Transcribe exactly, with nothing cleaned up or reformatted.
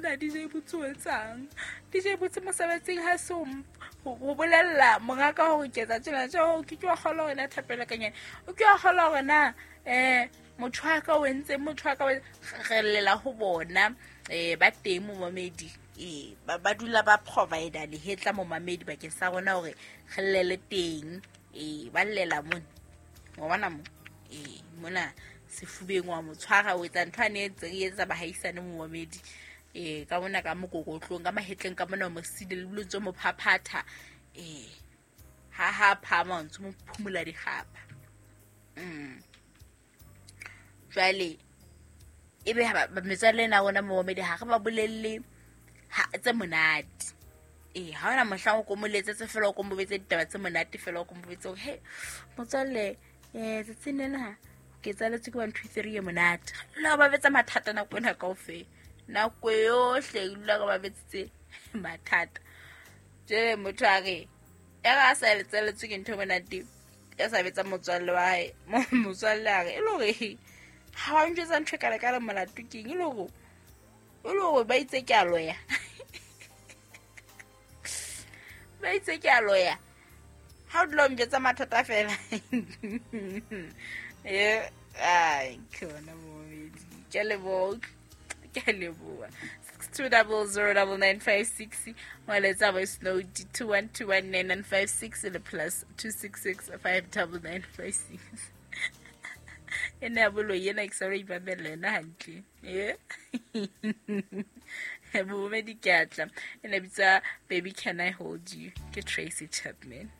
monna D J Botse o etsang. D J Botse mosebetsing ha se ho bolella mongaka hore ke etsa tjena tjho ke ke wa kgolwa hore na thapelo ka nyane. O ke wa kgolwa hore na eh motho wa ka o entse motho wa ka re llela ho bona eh ba teng momamedi eh ba ba dula ba provider lehetla momamedi bakeng sa rona hore re llele teng eh ba llela mona wa bona mo eh mona sefubeng wa motshwara o etsa ntho ane e etsa bahaisane momamedi eh ka mona ka mokokotlong ka mahetleng ka mona mo sile le bolotso mo phaphatha eh ha ha phama ntse mo phumula dikgapa mm jwale ebe ba metswalle na rona momamedi ha re ba bolelle tse monate eh ha ona mohla o komoletse fela o komobetse ditaba tse monate fela o komobetse hore he motswalle eh tsatsing lena ke tsaletswe ke one two three e monate la ba betsa mathata nako ena kaofela nako yohle e dula ka ba betsitse mathata jwale motho a re ya ga a sa tsaletswe ke ntho e monate ya sa betsa motswalle wa hae motswalle a re e le hore ha wa njwetsa ntho e kalekale molato keng e le hore e le hore ba itse ke a loya ba itse ke a loya ha o dula o njwetsa mathata fela eh ai ke ona momedi ke a leboha ke a leboha six two zero zero nine nine five six moletsa voice note two one two one nine nine five six le plus two six six five nine nine five six ene ya boloi ena ke sa re ipamela yona hantle eh momedi ke a tla ene bitsa Baby Can I Hold You ke Tracy Chapman.